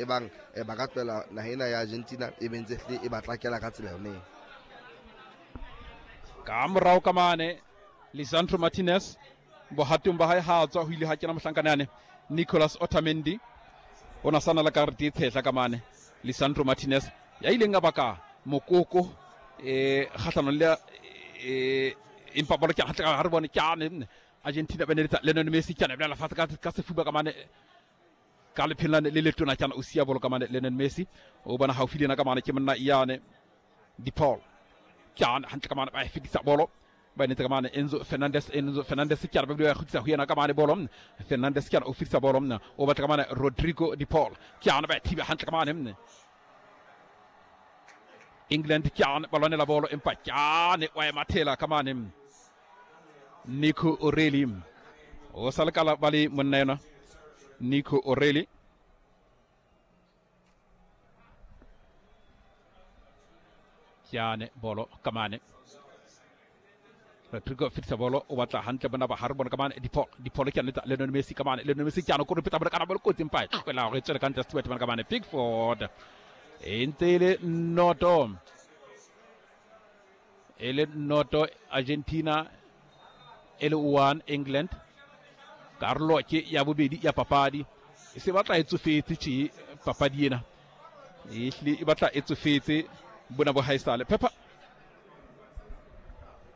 E bang ba ka tlohela naha ena ya Argentina e be ntse hlile e ba tlakela ka tsela yone. Ka morao ka mane Lisandro Martinez bohatong ba hae ha tswa ho ile ha kena mohlankana yane Nicolas Otamendi o na sana le karete e tshehla ka mane Lisandro Martinez ya ileng a baka mokoko kgahlanong le empa bolo ke hantle ha re bone ke Argentina ba neletsa Lionel Messi ke bolela fatshe ka sefuba ka mane ka lepheng le letona ke o sia bolo ka mane Lionel Messi o bona haufi le yena ka mane ke monna yane De Paul ke hantle ka mane ba e fetisa bolo ba netse ka mane Enzo Fernandez. Enzo Fernandez ke ba bile ba kgutlisa ho yena ka mane bolo. Fernandez ke o fetisa bolo o batla ka mane Rodrigo De Paul ke ba thiba hantle ka mane England ke ba lwanela bolo empa ke wa e mathela ka mane Nico O'Reilly o sa le kala ba le monna yona Nico O'Reilly ke bolo ka mane Rodrigo fetisa bolo o batla hantle bona ba hare bona ka mane Di Paul ke anetsa Lionel Messi ka mane Lionel Messi ke ano kore peta bona kana bolo kotsi empa e tlohela hore e tswele ka ntle Stuart bona ka mane Pickford e ntse e le noto e le noto Argentina e le 1 England. Karolo ke ya bobedi ya papadi e se batla e tsofetse tje papadi ena e hlile e batla e tsofetse bona bo haesale Pepper.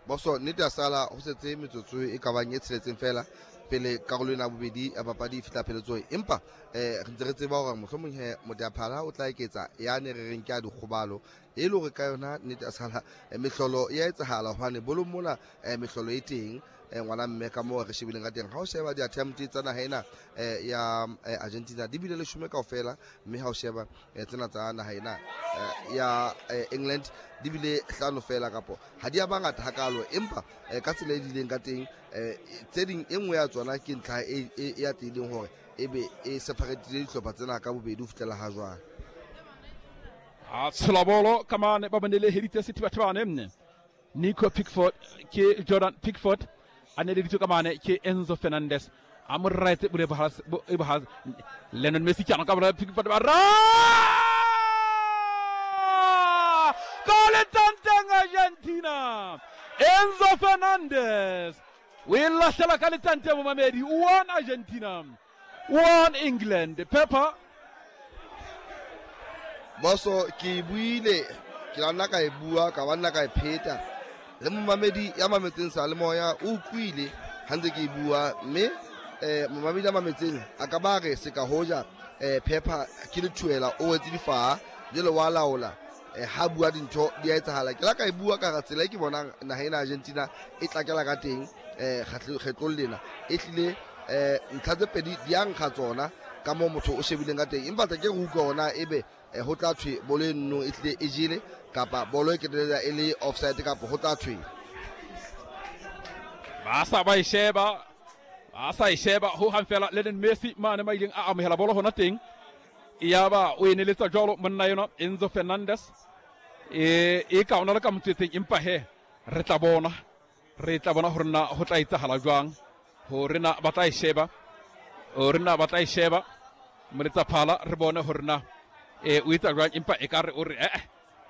Boso nnete ya sala ho setse metsotso e ka bang e tsheletseng fela pele karolo ena ya bobedi ya papadi e fihla pheletsong, empa re ntse re tseba hore mohlomong he Moteaphala o tla eketsa yane re reng ke a dikgobalo e le hore ka yona nnete ya sala mehlolo ya etsahala hobane bolong mona mehlolo e teng ngwana mme ka moo re shebileng ka teng. Ha o sheba di-attempt tsa naha ena ya Argentina di bile leshome kaofela, mme ha o sheba tsena tsa naha ena ya England di bile hlano fela, kapo ha di a bangata hakalo, empa ka tsela e dileng ka teng tse ding e nngwe ya tsona ke ntlha e atlehileng hore ebe e separatile dihlopha tsena ka bobedi ho fihlela ha jwale. A tshola bolo ka mane ba boneleheditse sethibathibane Nico Pickford ke Jordan Pickford a neleditswe ka mane ke Enzo Fernandez a mo raetse bole bohas Lionel Messi ke ka bola Pickford ba ra ka letanteng Argentina. Enzo Fernandez o e lahlela ka letanteng momamedi 1 Argentina 1 England. Pepper Boso ke buile ke la nna ka e bua ka ba nna ka e pheta le momamedi ya mametseng sa le moya o utlwile ha ntse ke e bua, mme momamedi ya mametseng a ka ba re se ka hoja Pepper ke le thuela o wetse difaha jwale wa laola ha bua dintho di a etsahala. Ke la ka e bua ka tsela e ke bonang naha ena Argentina e tlakela ka teng kgetlong lena e hlile ntlha tse pedi di a nkga tsona ka moo motho o shebileng ka teng, empa tla ke re utlwa ona ebe ho tla thwe bolo e nno e hlile e jele kapa bolo e ketelela e le offside kapa ho tla thwe ba sa ba e sheba ba sa e sheba ho hang fela. Lionel Messi mane ma ileng a amohela bolo hona teng yaba o e neletsa jwalo monna yona Enzo Fernandez e ka ona le ka motswetseng, empa he re tla bona hore na ho tla etsahala jwang hore na ba tla e sheba hore na ba tla e sheba moletsa phala re bone hore na o etsa jwang, empa e ka re o re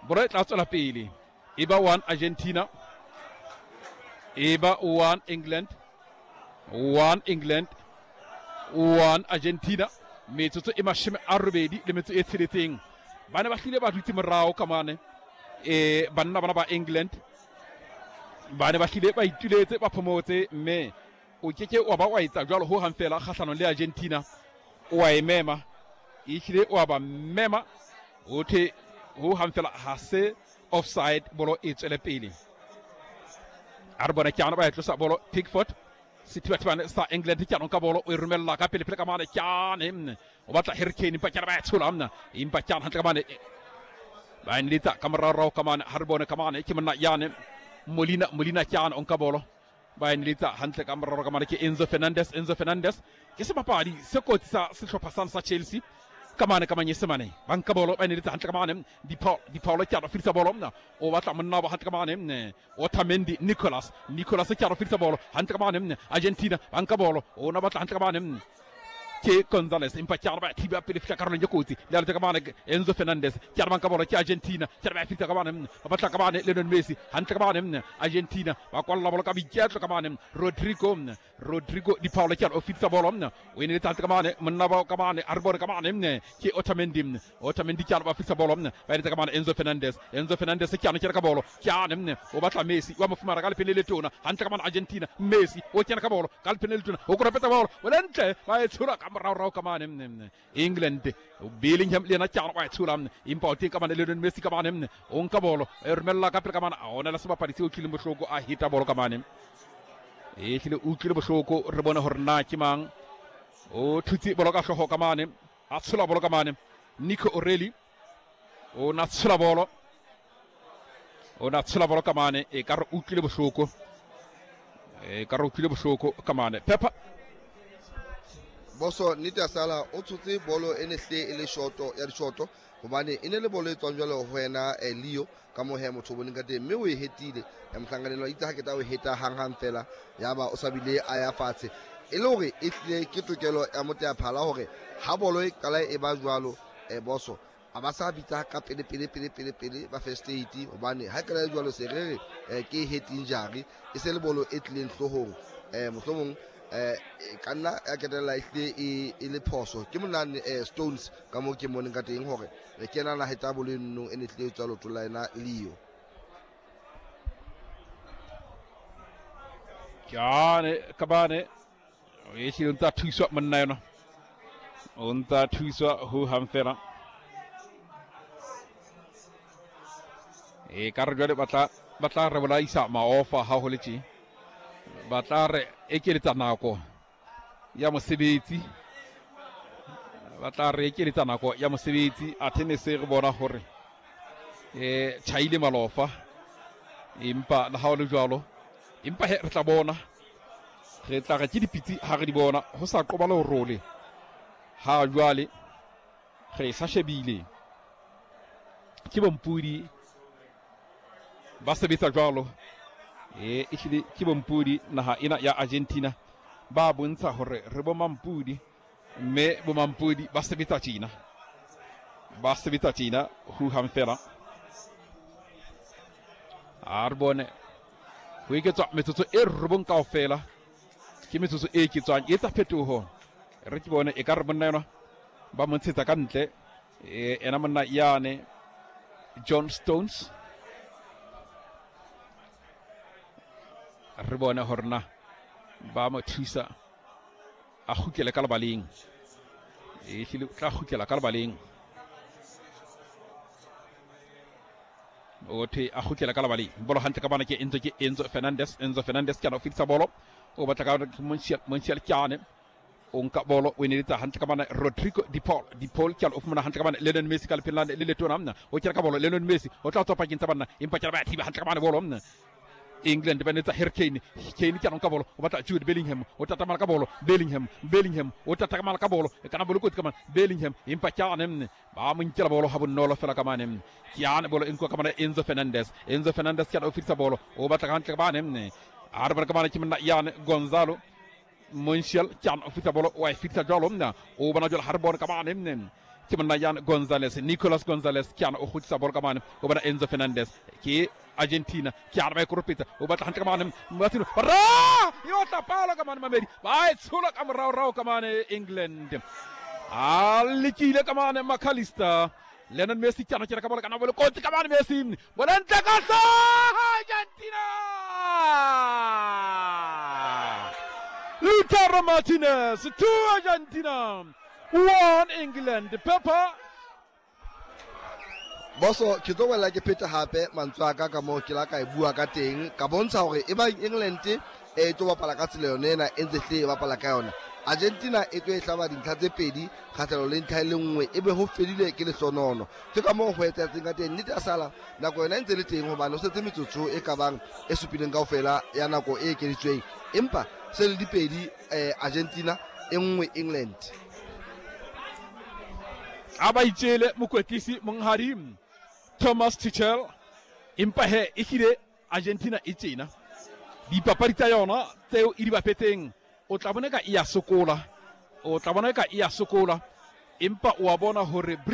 bolo e tla tswela pele e ba 1 Argentina e ba 1 England 1 England 1 Argentina. Metsotso e 86 ba ne ba hlile ba dutse morao ka mane banna bana ba England ba ne ba hlile ba ituletse ba phomotse, mme o keke wa ba wa etsa jwalo ho hang fela kgahlanong le Argentina. O wa e mema e hlile o wa ba mema ho thwe ho hang fela ha se offside bolo e tswele pele. A re bone ke ba e tlosa bolo Pickford sethibathibane sa England ke ka bolo o e romella ka pele pele ka mane ke o batla Harry Kane empa ke ba e tshola mna empa ke hantle ka mane ba neletsa ka morao ka mane ha re bone ka mane ke monna yane Molina ke o nka bolo ba neletsa hantle ka morao ka mane ke Enzo Fernandez. Enzo Fernandez ke sebapadi se kotsi sa sehlopha sa Chelsea ka mane ka manyesemane ba nka bolo ba neletsa hantle ka mane Di Paul ke a fetisa bolo mna o batla monna ba hantle ka mane Otamendi Nicolas ke a fetisa bolo hantle ka mane Argentina ba nka bolo o na batla hantle ka mane Ke Gonzalez empa ke araba thiba pele fihla karolong e kotsi le aletse ka mane Enzo Fernandez ke arabang ka bolo ke Argentina ke araba fihla ka mane ba batla ka mane Lionel Messi hantle ka mane Argentina ba kwalla bolo ka boiketlo ka mane Rodrigo Rodrigo Di Paolo ke o fitsa bolo o ene le ka mane monna ba ka mane a re bone ka mane ke Otamendi Otamendi ke ba fitsa bolo ba ene ka mane Enzo Fernandez Enzo Fernandez ke ana ke ka bolo ke ane o batla Messi wa mo fumana ka lepele le tona hantle ka mane Argentina Messi o kena ka bolo ka lepele le tona o koropetsa bolo o le ntle ba e tshola ka moraorao ka mane England Bellingham le yena ke ana wa e tshola empa o teng ka mane Lionel Messi ka mane o nka bolo e romella ka pele ka mane a ona le sebapadi se utlwileng bohloko a heta bolo ka mane e hlile o utlwile bohloko re bone hore na ke mang o thutse bolo ka hlooho ka mane a tshola bolo ka mane Nico O'Reilly o na tshola bolo o na tshola bolo ka mane e ka re utlwile bohloko e ka re utlwile bohloko ka mane Pepper. Boso nnete ya sala o tshotse bolo e ne hle e le shoto ya dishoto hobane e ne le bolo e tswang jwalo ho wena Leo ka moo he motho o boneng ka teng mme o e hetile mohlankanelo a itse ha ke tla o heta hanghang fela yaba o sa bile a ya fatshe e le hore e hlile ke tokelo ya moteaphala hore ha bolo e qala e ba jwalo boso a ba sa bitsa ka pele pele pele pele pele ba first aid hobane ha e qala e jwalo se re re ke head injury e se le bolo e tlileng hloohong mohlomong e ka nna ya ketella e hlile e le phoso ke monane Stones ka moo ke moneng ka teng hore re kena na heta bolo eno e ne hlile e tswa leotong la yena Leo. Ke ka bane e hlile o ntsa thuswa monna yona o ntsa thuswa ho hang fela e ka re jwale ba tla re bolaisa maofa ha ho le tje ba tla re ekeletsa nako ya mosebetsi ba tla re ekeletsa nako ya mosebetsi athe ne se re bona hore tjhaile malofa empa le ha o le jwalo empa he re tla bona re tla re ke dipitsi ha re di bona ho sa qoba le ho role ha jwale re sa shebile ke bompudi ba sebetsa jwalo e ehlile ke bompudi naha ena ya Argentina ba bontsha hore re bo mampudi mme bo mampudi ba sebetsa tjena ba sebetsa tjena ho hang fela a re bone ho eketswa metsotso e robong kaofela ke metsotso e eketswang e etsa phetoho re ke bone e ka re monna yona ba mo ntshetsa ka ntle ena monna yane John Stones re bone hore na ba mo thusa a kgutlele ka lebaleng e hlile tla kgutlela ka lebaleng o thwe a kgutlela ka lebaleng bolo hantle ka bana ke Enzo ke Enzo Fernandez Enzo Fernandez ke ana o fetisa bolo o batla ka Montiel ke ane o nka bolo o eneletsa hantle ka bana Rodrigo Di Paul Di Paul ke o fumana hantle ka bana Lionel Messi ka lepheleng le letona mna o kena ka bolo Lionel Messi o tla tswa pakeng tsa banna empa ke ba thiba hantle ka bana bolo mna England ba netsa Harry Kane Kane ke ka bolo o batla Jude Bellingham o tatamala ka bolo Bellingham Bellingham o tatamala ka bolo e kana bolo kotsi ka mane Bellingham empa ke ane mne ba mo nkela bolo ha bonolo fela ka mane mne ke ane bolo e nkuwa ka mane Enzo Fernandez Enzo Fernandez ke o fitisa bolo o batla hantle ka mane mne a re bana ka mane ke monna yane Gonzalo Montiel ke ane o fitisa bolo wa e fitisa jwalo mna o bona jwalo ha re bone ka mane mne ke monna yane Gonzalez Nicolas Gonzalez ke ane o kgutlisa bolo ka mane o bona Enzo Fernandez ke Argentina ke a re ba e koropetsa o batla hantle ka mane Martino ra e otla palo ka mane mamedi ba e tshola ka moraorao ka mane England a lekile ka mane McAllister Lionel Messi ke ana ke ka bola kana bolo kotsi ka mane Messi bola ntle ka hlooho Argentina Lautaro Martinez 2 Argentina 1 England Pepper Boso ke tlo bolela ke pheta hape mantswe a ka ka moo ke la ka e bua ka teng ka bontsha hore e bang England e tlo bapala ka tsela yone ena e ntse hle e bapala ka yona Argentina e tlo e hlaba dintlha tse pedi kgahlano le ntlha e le nngwe e be ho fedile ke lehlonono ke ka moo ho etsahetseng ka teng nnete ya sala nako yona e ntse le teng hobane ho setse metsotso e ka bang e supileng kaofela ya nako e ekeditsweng empa se le dipedi Argentina e nngwe England a ba itjele mokwetlisi monghadi Thomas Tuchel empa he e hlile Argentina e tjena dipapadi tsa yona tseo e di bapetseng o tla bona ka e ya sokola O tla bona eka e a sokola, empa o a bona hore